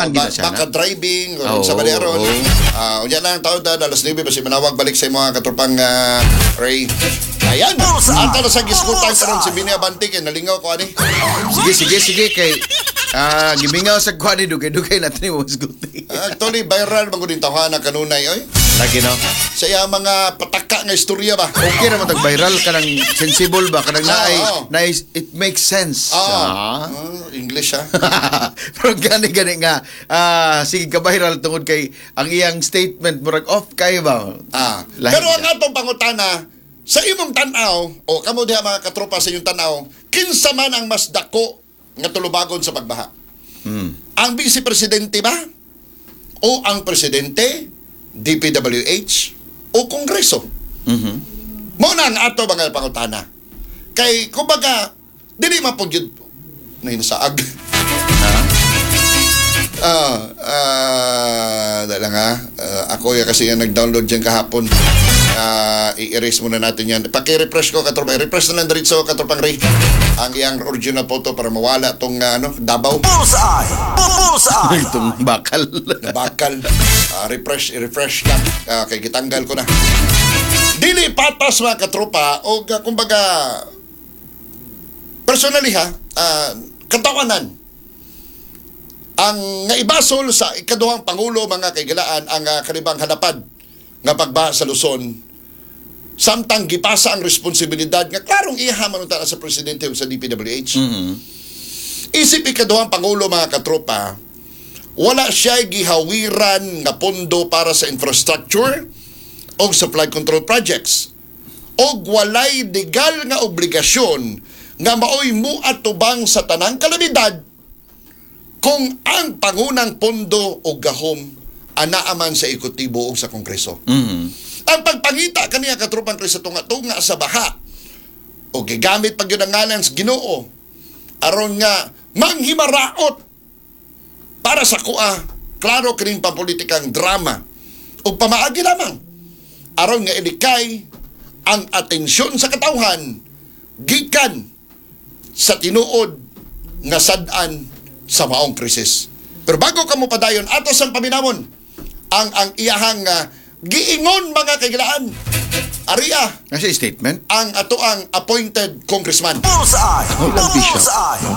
Ganahan gid na siya na. Baka driving o sa ba ron. Unya na ang taon ta, alas 9 basi manawag balik sa mga katropang Ray. Ayan. Ato na sa gisgutan karon si Bini Abante kay nalingaw ko ani. Sige, sige, sige kay gimingaw sa kuan ni dugay-dugay natin ni Mosguti. Actually viral man gud tawhana kanunay oy. Lagi no. Sa iya mga pataka nga istorya ba. Okay ra man tag viral kanang sensible ba kanang naay naay it makes sense. Ah. English ha. Pero gani gani nga sige ka viral tungod kay ang iyang statement murag off kay ba. Lahi Pero ang siya. atong pangutana sa imong tan-aw o kamo diha mga katropa sa inyong tan-aw, kinsa man ang mas dako nga tulubagon sa pagbaha? Ang vice presidente ba? O ang presidente, DPWH o Kongreso? Mao na ang ato mga pangutana. Kay kumbaga dili man pud yun na inasaag. Dahil lang ha. Ako ya kasi yung nag-download dyan kahapon. I-erase muna natin yan. Paki-refresh ko, katropa. I-refresh na lang diretso, katropang Ray. Ang iyang original photo para mawala tong ano, Davao. Bullseye! Bullseye! Itong bakal. Bakal. Refresh, i-refresh lang. Kay gitanggal ko na. Dili patas mga katropa o kumbaga personally ha, katawanan ang nga ibasol sa ikaduhang pangulo mga kaigalaan ang kanibang halapad nga pagbaha sa Luzon samtang gipasa ang responsibilidad nga klarong iha man unta na sa presidente ug sa DPWH. Isip ikaduhang pangulo mga katropa, wala siya gihawiran nga pondo para sa infrastructure o sa flood control projects. Og walay legal nga obligasyon nga maoy muatubang sa tanang kalamidad kung ang pangunang pondo o gahom anaaman sa ekutibo o sa Kongreso. Ang pagpangita kaniya katropang Chris sa tunga-tunga sa baha o gigamit pag yun ang ngalan sa Ginoo aron nga manghimaraot para sa kuha klaro kining pampolitikang drama ug pamaagi lamang aron nga ilikay ang atensyon sa katawhan gikan sa tinuod nga sad-an sa maong krisis. Pero bago ka mo padayon, atos ang paminawon ang iyahang giingon mga kaigilaan. Aria Nasa statement? ang ato ang appointed congressman. Bullseye! Bilang bishop, Bullseye! no?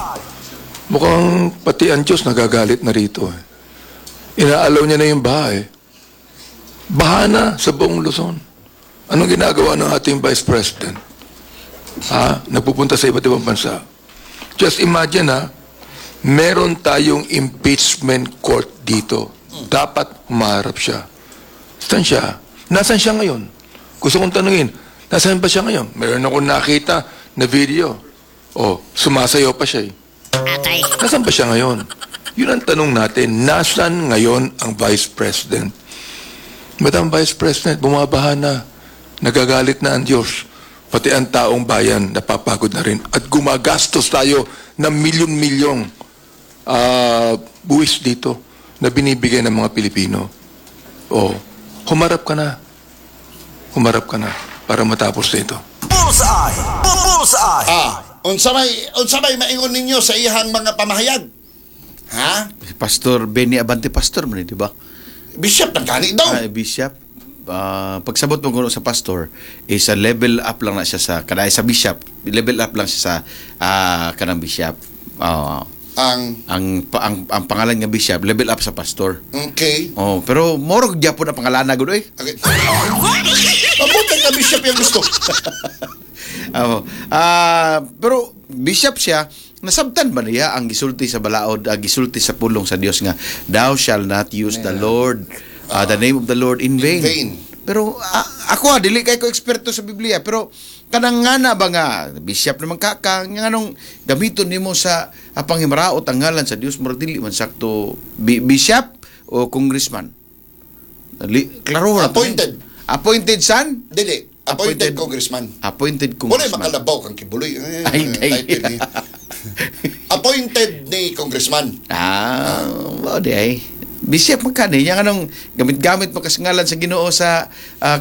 Mukhang pati ang Diyos nagagalit na rito. Eh. Inaalaw niya na yung baha eh. Baha na sa buong Luzon. Anong ginagawa ng ating Vice President? Ha? Nagpupunta sa iba't ibang bansa. Just imagine ha, meron tayong impeachment court dito. Dapat humarap siya. Saan siya? Nasaan siya ngayon? Gusto kong tanungin, nasaan ba siya ngayon? Meron akong nakita na video. Oh, sumasayaw pa siya eh. Nasaan ba siya ngayon? Yun ang tanong natin. Nasaan ngayon ang Vice President? Madam Vice President, bumabaha na. Nagagalit na ang Diyos. Pati ang taong bayan napapagod na rin. At gumagastos tayo ng milyon-milyong buwis dito na binibigay ng mga Pilipino. Oh, humarap ka na. Humarap ka na para matapos na ito. Bullseye! Bullseye! Unsa may maingon ninyo sa iyahang mga pamahayag? Ha? Si Pastor Benny Abante, pastor man eh, di ba? Bishop ng gani daw. Bishop. Pagsabot mo kuno sa pastor is a level up lang na siya sa kanay sa bishop. Level up lang siya sa kanang bishop. Ang Ang pangalan nga bishop level up sa pastor. Okay. Oh, pero moro gyapon ang pangalan gud oy. Okay. Mabuti ka bishop yung gusto. Oo. Pero bishop siya, nasabtan ba niya ang gisulti sa balaod, ang gisulti sa pulong sa Dios nga thou shall not use the Lord, the name of the Lord in vain. Vain. Pero ako dili kay ko eksperto sa Biblia, pero kanang nga na ba nga bishop naman ka nga nganong gamiton nimo sa panghimaraot ang ngalan sa Dios, murag dili man sakto bishop o congressman. Klaro ra to, eh. Appointed. Appointed san? Dili. Appointed congressman. Appointed Wala congressman. makalabaw kang kibuloy. Eh, Ay, ay. title ni. Appointed ni congressman. Mao di ay. Bishop man kani nya kanang gamit-gamit mo kasingalan sa Ginoo sa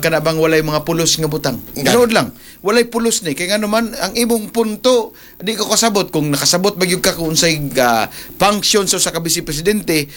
kanabang walay mga pulos nga butang. Nga. Tinuod lang, walay pulos ni kay ngano man ang imong punto di ko kasabot kung nakasabot ba gyud ka kung unsay function sa usa ka vice presidente o